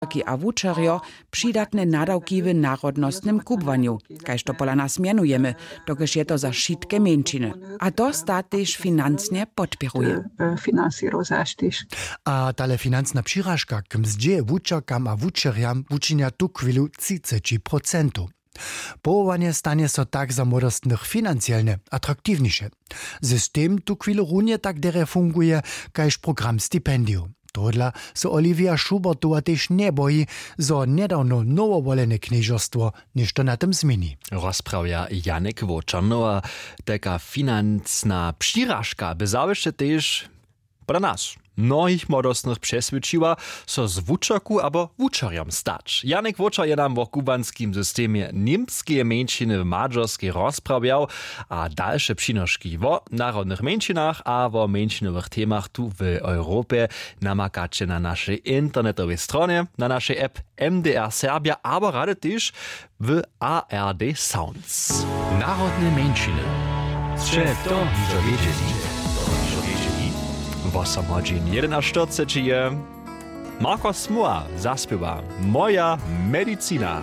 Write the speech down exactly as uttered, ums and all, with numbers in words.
Wučerki a wučerjo přidatne nadawki w narodnostnym kubłanju, kaž to pola nas mjenujemy, dokelž je to za wšitke mjeńšiny. A to stat tež financnje podpěruje. Financiro zaš tež. A tale financna přiražka k mzdźě wučerkam a wučerjam wučinja tuchwilu třiceći procentow. Powołanje stanje so tak za młodostnych financielnje atraktiwniše. System tuchwilu runje tak derje funguje kaž program stipendijow. Tohodla so olivia schubertowa tež njeboji, zo njedawno nowowolene knježerstwo něšto na tym změni. Rozprawja janek wočernowa. Tajka financna přiražka by zawěsće tež pola nas mnohich młodostnych přeswědčiła, so z wučerku abo wučerjom stać. Janek wočer je nam wo kubłanskim systemje němskeje mjeńšiny w madźerskej rozprawjał. A dalše přinoški wo narodnych mjeńšinach a wo mjeńšinowych temach tu w europje namakaće na našej internetowej stronje, na našej app, mdr serbja abo rady tež w ard sounds. Narodne mjeńšiny. Sće to hižo wědźeli? Wosom hodźin jedenaštyrceći je marko smuła zaspěwa moja medicina.